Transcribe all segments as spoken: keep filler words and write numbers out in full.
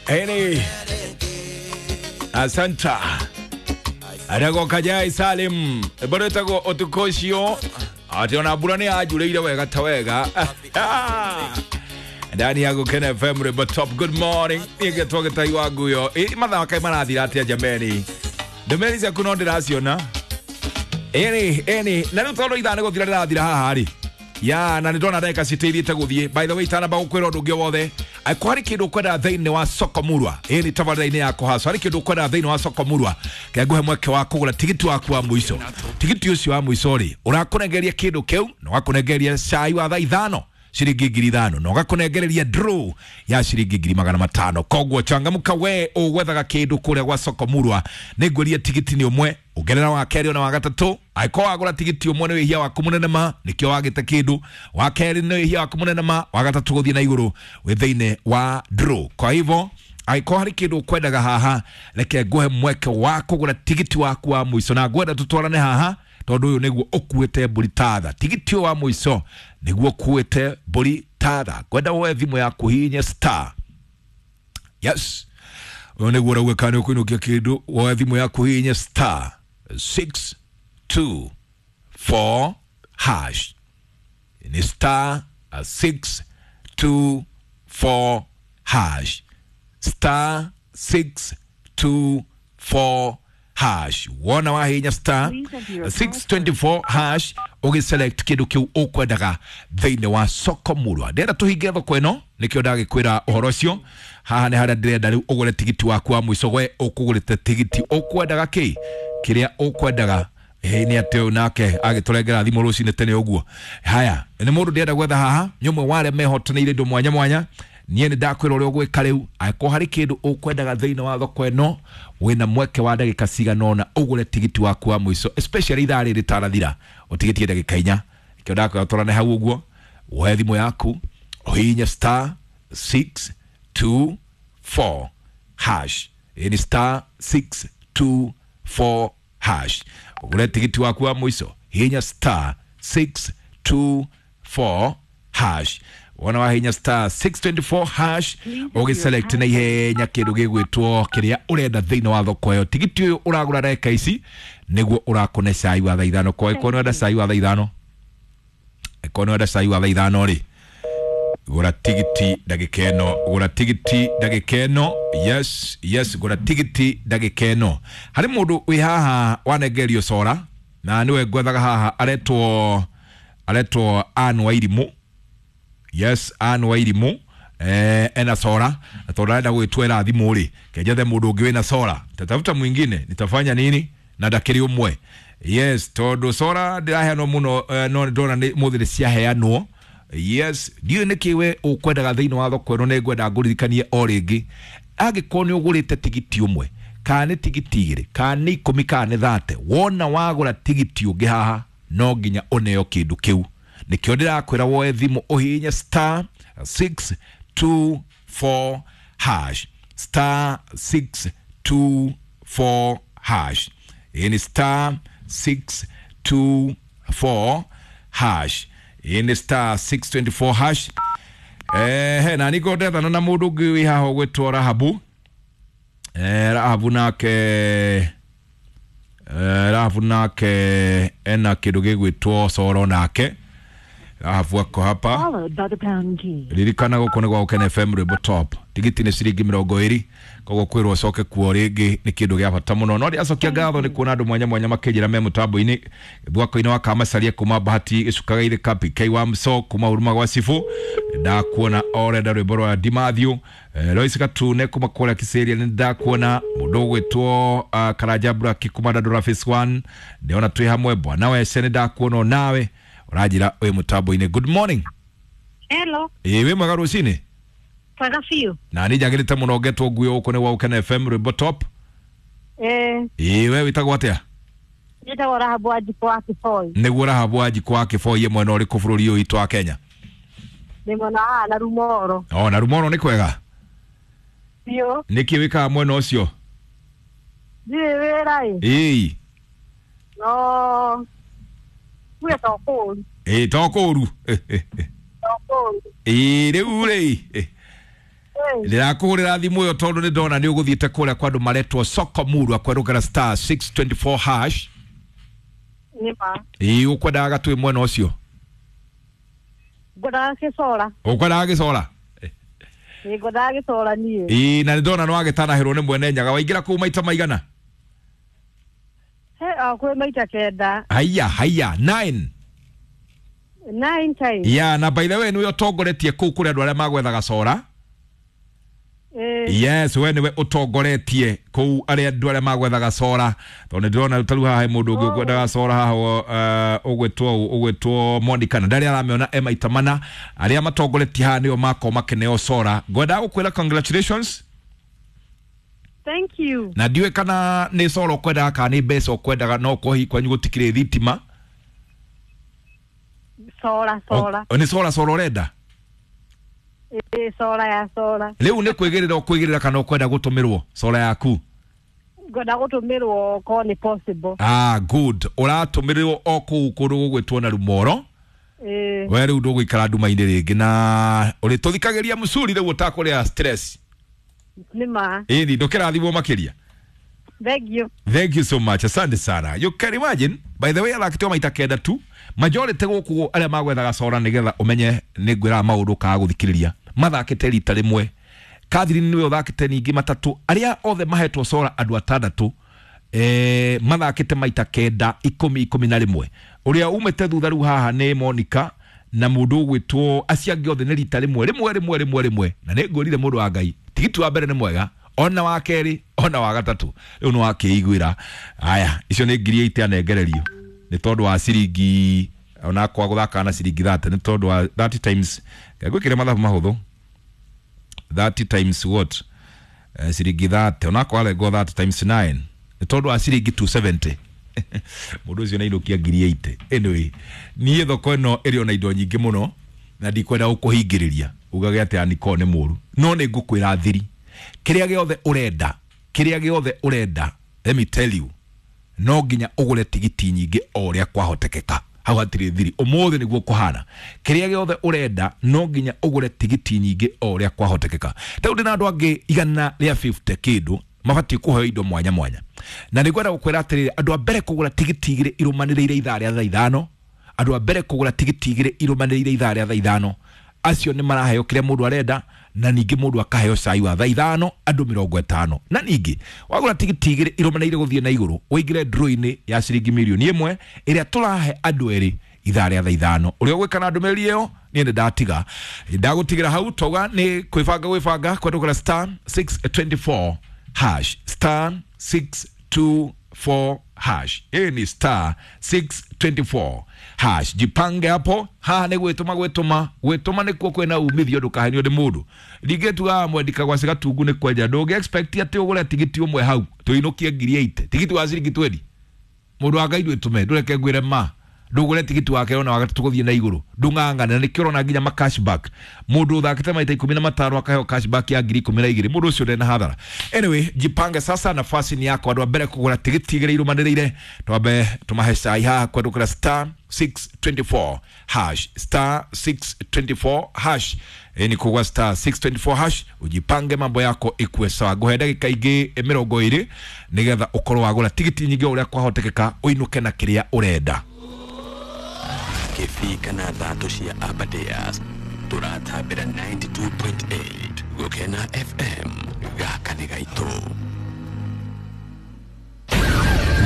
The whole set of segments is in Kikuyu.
Eni asanta arego kajai Salim bado etago otukoshio ati ona mbura ni anjureire wega ta wega ndani ya Gukena F M Rwimbo Top. Good morning igetwo gitai wa nguyo mathaa kai marathira atia jameni ndumĩrĩri ciaku no ndĩraciona ĩni ĩni na rĩu tondũ ithaa nĩ gũthira rĩrathira haha rĩ ya na nĩ ndona ndagĩka citĩirĩte gũthiĩ. By the way itanamba gũkwĩra ũndũ ũngĩ wothe angĩkorwo harĩ kĩndũ ũkwenda thĩinĩ wa Soko Murwa, ĩni tabarĩra-inĩ ya kũhaco, harĩ kĩndũ ũkwenda thĩinĩ wa Soko Murwa, kengũhe mweke wa kũgũra tigiti waku wa mũico. Tigiti ũcio wa mũico rĩ ũrakũnengeria kĩndũ kĩu na ũgakũnengeria cai wa thaa ithano ciringi ngiri ithano na ũgakũnengereria draw ya ciringi ngiri magana matano. Koguo changamuka we ũgwethaga kĩndũ kũrĩa gwa Soko Murwa, nĩngwĩria tigiti nĩ ũmwe ongerera wa kerĩ ona wa gatatũ. Angĩkorwo wagũra tigiti ũmwe nĩ wĩhia waku mũnene ma nĩkĩo wagĩte kĩndũ, wa kerĩ nĩ wĩhia waku mũnene ma, wa gatatũ gũthiĩ na igũrũ wĩ thĩinĩ wa draw. Kwa hivyo angĩkorwo harĩ kĩndũ ũkwendaga haha, reke nguhe mweke wa kũgũra tigiti waku wa mũico, na ngwenda tũtwarane haha tondũ ũyũ nĩguo ũkuĩte mbũri tatha. Tigiti ũyũ wa mũico nĩguo ũkuĩte mbũri tatha. Ngwenda woe thimũ yaku hihinye star, yes, ũyũ nĩguo ũrauga kana nĩ ũkũinũkia kĩndũ, woe thimũ yaku hihinye star six two four hash. Ni star six two four hash, star six two four hash. Wona wahinya star six twenty-four hash ũgĩselect kĩndũ kĩu ũkwendaga thĩinĩ wa Soko Murwa. Ndĩrenda tũhinge thoko ĩno nĩkĩo ndagĩkwĩra ũhoro ũcio. Haha nĩ harĩa ndĩrenda rĩu ũgũre tigiti waku wa mũico. We ũkũgũrĩte tigiti ũkwendaga kĩ kĩrĩa ũkwendaga. Ĩĩ nĩ atĩ ũyũ nake agĩtũrengera thimũ rũcinĩ tene ũguo. Haya nĩ mũndũ ndĩrenda gwetha haha, nĩ ũmwe wa arĩa mehotanĩire indo mwanya mwanya. Niĩ nĩ ndakwĩra ũrĩa ũgwĩka rĩu. Angĩkorwo harĩ kĩndũ ũkwendaga thĩinĩ wa thoko ĩno, wĩna mweke wa ndagĩka cigana ũna ũgũre tigiti waku wa mũico, especially ithaa rĩrĩ rĩtarathira, ũtigĩtie ndagĩka inya. Nĩkĩo ndakwĩra tũrane hau ũguo, woe thimũ yaku ũhihinye star six two four hash. Ĩĩ nĩ star six two four hash, ũgũre tigiti waku wa mũico, hihinya star six two four hash. Wona wahinya star six twenty-four hash ũgĩselect na ihenya kĩndũ gĩgwĩtwo kĩrĩa ũrenda thĩinĩ wa thoko ĩyo. Tigiti ũyũ ũragũra ndagĩka ici nĩguo ũrakũne cai wa thaa ithano. Kwa ĩkorwo nĩwenda cai wa thaa ithano, ĩkorwo nĩwenda cai wa thaa ithano rĩ, gũra tigiti ndagĩka ĩno, gũra tigiti ndagĩka ĩno. Yes, yes, gũra tigiti ndagĩka ĩno. Harĩ mũndũ wĩ haha wanengerio cora na nĩwe ngwethaga haha, aretwo aretwo Ann Wairimũ. Yes, Ann Wairimũ eh, ena sora na tondũ arenda gwĩtwĩra thimũ rĩ, kenjethe mũndũ ũngĩ wĩna sora, tatafuta mwingine nitafanya nini na ndakĩrĩ ũmwe. Yes, tondũ sora ndĩraheanwo mũno eh, no ndona nĩ mũthĩ nĩ ciaheanwo. Yes, ndiũĩ nĩkĩ we ũkwendaga thĩinĩ wa thoko ĩno, nĩngwenda ngũririkanie o rĩngĩ, angĩkorwo nĩ ũgũrĩte tigiti ũmwe kana nĩ tigiti igĩrĩ kana nĩ ikũmi kana nĩ thate, wona wagũra tigiti ũngĩ haha no nginya ũneo kĩndũ kĩu. Nĩkĩo ndĩrakwĩra woe thimũ ũhihinye star six two four hash, star six two four hash. Ĩĩ nĩ star six two four hash. Ĩĩ nĩ star six twenty-four hash. Ehe, na nĩngũ ndethana na mũndũ ũngĩ wĩ haha ũgwĩtwo Rahabu. Eh, Rahabu nake eh, Rahabu nake ena kĩndũ gĩgwĩtwo coro nake. Rahabu ako hapa. Ririkana gũkũ nĩ gwa Gukena F M Rwimbo Top. Tigiti nĩ ciringi mĩrongo ĩrĩ, koguo kwĩrwo ũcoke kuo rĩngĩ nĩ kĩndũ gĩa bata mũno. No ndĩracokia ngatho nĩ kuona andũ mwanya mwanya makĩnjĩra me mũtambo-inĩ. Thwako-inĩ wa Kamacaria kuma Bahati Gĩcuka Gaithĩka, P K wa Mso kuma Huruma gwa Cibũ, ndakuona orenda rwĩmbo rwa Dimathiũ. Lois Gatune kuma kũrĩa Kiseria nĩ ndakuona. Mũndũ ũgwĩtwo uh, Karanja Braki kuma Dandora Phase one, ndĩona twĩ hamwe. Bwana Wece nĩ ndakuona onawe ũranjĩra wĩ mũtambo-inĩ. Good morning. Hello. Ĩĩ wĩ mwega rũcinĩ? Mwega biũ. Na nĩ njagĩrĩte mũno ngetwo nguo gũkũ nĩ gwa Gukena F M Rwimbo Top. Eh. Ĩĩ we wĩtagwo atĩa? Njĩtagwo Rahabu Wanjikũ wa Kĩboi. Nĩguo Rahabu Wanjikũ wa Kĩboi, mwena ũrĩkũ bũrũri ũyũ witũ wa Kenya? Nĩ mwena haha na Rumoro. O na Rumoro nĩ kwega? Biũ. Nĩkĩ wĩkaga mwena ũcio? Ndirĩ wĩra ĩ. Ĩĩ. No kuya to kũũru. Ĩĩ to kũũru. To kũũru. Ĩĩ rĩu rĩ. Ndĩrakũhũrĩra thimũ ĩyo tondũ nĩ ndona nĩ ũgũthiĩte kũrĩa kwa andũ maretwo soko murwa kwerũkĩra star six twenty four hash. Nĩ ma. Ĩĩ ũkwendaga gatwĩ mwena ũcio? Ngwendaga gĩcora. Ũkwendaga gĩcora? Ĩĩ ngwendaga gĩcora niĩ. Ĩĩ na nĩ ndona nĩ wagĩtanahĩrwo nĩ mwene Nyaga. Waingĩra kũu maita maigana? He kwĩ maita kenda. Haiya haiya nine. Nine times. Yeah, na by the way nĩwe ũtongoretie kũu kũrĩ andũ arĩa magwethaga cora. Eh. Yes, we niwe utongoretie kuu aria andu aria magwethaga cora tondu ndirona taru haha he mundu ungi ukwendaga cora haha ugwitwo ugwitwo Monica na ndari aramiona e maita mana aria matongoretie haha nio mako makeneo cora. Ngwendaga gukwira congratulations. Thank you. Na ndiwe kana ni cora ukwendaga kana ni mbeca ukwendaga no kohi kwanyu gutikire thitima. Cora cora. Ni cora cora urenda? Ĩĩ cora ya cora. Rĩu nĩ kwĩgĩrĩra ũkwĩgĩrĩra kana ũkwenda gũtũmĩrwo cora yaku? Ngwenda gũtũmĩrwo ko nĩ possible. Ah, good. Ũratũmĩrwo o kũu kũndũ gũgwĩtwo na Rumoro. Ĩĩ. We rĩu ndũgũikara nduma-inĩ rĩngĩ na ũrĩtũthikagĩria mũcuri rĩu ũtakũrĩa stress. Nĩ ma. Ĩni ndũkĩrathimwo makĩria. Thank you. Thank you so much. Asante sana. You can imagine, by the way, athakĩtwo maita kenda tu. Majority gũkũ arĩa magwethaga cora nĩgetha ũmenye nĩ ngwĩraga maũndũ kaga gũthikĩrĩria. Mathakĩte rita rĩmwe. Catherine nĩwe ũthakĩte ningĩ matatũ. Arĩa othe mahetwo cora andũ atandatũ eh mathakĩte maita kenda ikũmi ikũmi na rĩmwe. Ũrĩa umĩte thutha rĩu haha nĩ Monica na mũndũ ũgwĩtwo acio angĩ othe nĩ rita rĩmwe rĩmwe rĩmwe rĩmwe rĩmwe. Na nĩ ngwĩrire mũndũ wa Ngai tigiti wa mbere nĩ mwega ona wa kerĩ ona wa gatatũ rĩu nĩ wakĩiguĩra. Aya icio nĩ ngiri eight anengererio nĩ tondũ wa ciringi ona kwa gũthaka na ciringi thirty nĩ tondũ wa thirty times ngwĩkĩre mathabu mahũthũ thirty times what uh, ciringi thirty ona kwa rengwo thirty times nine nĩ tondũ wa ciringi two seventy mũndũ ũcio nĩainũkia ngiri eight. Anyway niĩ thoko ĩno ĩrĩ ona indo nyingĩ mũno na ndikwenda gũkũhingĩrĩria ugage atĩ Aniko nĩ mũru no nĩ ngũkwĩra thiri kĩrĩa gĩothe ũrenda kĩrĩa gĩothe ũrenda let me tell you no nginya ũgũre tigiti nyingĩ o ũrĩa kwahotekeka. Hau hatirĩ thiri ũmũthĩ nĩguo kũhana kĩrĩa gĩothe ũrenda no nginya ũgũre tigiti nyingĩ o ũrĩa kwahotekeka. Rĩu ndĩna andũ angĩ igana rĩa fifty kĩndũ mabatiĩ kũheo indo mwanya mwanya na nĩngwenda gũkwĩra atĩrĩrĩ andũ a mbere kũgũra tigiti igĩrĩ irũmanĩrĩire ithaa rĩa thaa ithano andũ a mbere kũgũra tigiti igĩrĩ irũmanĩrĩire ithaa rĩa thaa ithano acio nĩ maraheo kĩrĩa mũndũ arenda na ningĩ mũndũ akaheo cai wa thaa ithano andũ mĩrongo ĩtano na ningĩ wagũra tigiti igĩrĩ irũmanĩrĩire gũthiĩ na igũrũ ũingĩre draw-inĩ ya ciringi mirioni ĩmwe ĩrĩa tũrahe andũ erĩ ithaa rĩa thaa ithano. Ũrĩa ũgwĩka na ndũmĩrĩri ĩyo niĩ nĩ ndatiga ndagũtigĩra hau twauga nĩ kwĩbanga gwĩbanga kwendũkĩra star six twenty four hash star six two four hash. Hii ni star six twenty four hash. Jipange hapo. Haha nĩ gwĩtũma gwĩtũma gwĩtũma nĩkuo kwĩna umithio ndũkahenio nĩ mũndũ. Ningĩ tugaga mwendika gwa cigatungu nĩ kwenja ndũngĩ expect atĩ ũgũre tigiti ũmwe hau tũinũkie ngiri eight tigiti wa ciringi twenty mũndũ wa Ngai ndwĩtũme ndũreke ngwĩre ma ndũgũre tigiti wa kerĩ ona wa gatatũ gũthiĩ na igũrũ ndũng'ang'ane na nĩkĩo ũrona nginya ma cashback mũndũ ũthakĩte maita ikũmi na matano akaheo cashback ya ngiri ikũmi na igĩrĩ mũndũ ũcio ndarĩ na hathara. Anyway jipange sasa nafasi ni yako andũ a mbere kũgũra tigiti igĩrĩ irũmanĩrĩire twambe tũmahe cai haha kwendũkĩra star six twenty four hash star six twenty four hash. Ni kugwa star six twenty four hash ujipange mambo yako ikue sawa. Nguhe ndagĩka ingĩ mĩrongo ĩrĩ nĩgetha ũkorwo wagũra tigiti nyingĩ o ũrĩa kwahotekeka ũinũke na kĩrĩa ũrenda. Kĩbii na thatũ cia Aberdares tũratambĩra ninety two point eight Gũkena F M gaka nĩ gaitũ.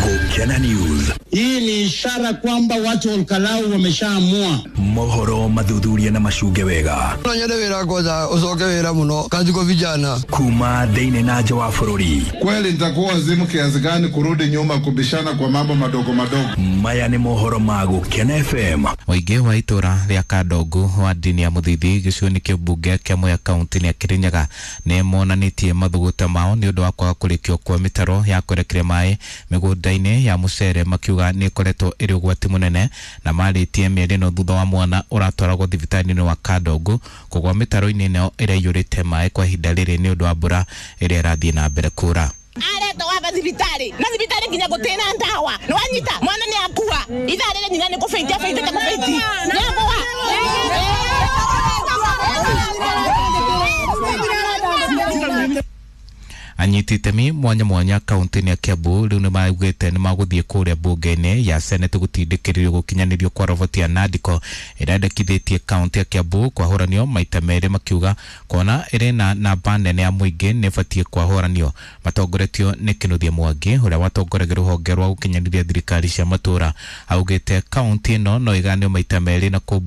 Gũkena News. Hii ni ishara kwamba watu wa Olkalau wameshaamua. Mohoro mathuthuria na macunge wega. No nyende wĩra kwanza ucoke wĩra mũno kazi kwa vijana. Kuma thĩinĩ na nja wa bũrũri. Kweli nitakuwa wazimu kiasi gani kurudi nyuma kubishana kwa mambo madogo madogo. Maya nĩ mohoro ma Gũkena F M. Mũingĩ wa itũra rĩa Kandongu wa ndini ya Mũthithi gĩcigo-inĩ kĩa mbunge kĩa Mwea kaunti-inĩ ya Kĩrĩnyaga nĩ monanĩtie mathũgũta mao nĩ ũndũ wa kwaga kũrĩkio kwa mĩtaro ya kwerekeria maĩ mĩgũnda-inĩ ya mũcere makiuga nĩ ĩkoretwo ĩrĩ ũgwati mũnene na marĩtie mĩeri ĩno thutha wa mwana ũratwaragwo thibitarĩ-inĩ wa Kandongu kũgwa mĩtaro-inĩ ĩno ĩrĩa ĩiyũrĩte maĩ kwa ihinda rĩrĩ nĩ ũndũ wa mbura ĩrĩa ĩrathiĩ na mbere kura. Aretwo waba thibitari na thibitari nginya gutena ndawa ni wanyita mwana ni akua ithaa rĩrĩ nyina nĩ kũbĩtia bĩtĩte kũbĩti nĩ akua. Anyiti itemi mwanya mwanya kaunti-inĩ ya Kiambu rĩu nĩ maugĩte nĩ magũthiĩ kũrĩa mbunge-inĩ ya Senate gũtindĩkĩrĩrio gũkinyanĩrio kwa roboti ya Nandiko ĩrĩa yandĩkithĩtie kaunti ya Kiambu kwahũranio maita merĩ, makiuga kuona ĩrĩ na namba nene ya mũingĩ nĩ ĩbatiĩ kwahũranio. Matongoretio nĩ Kinuthia Mwangi ũrĩa watongoragia rũhonge rwa gũkinyanĩria thirikari cia matũũra, augĩte kaunti ĩno no ĩganio maita merĩ na kũ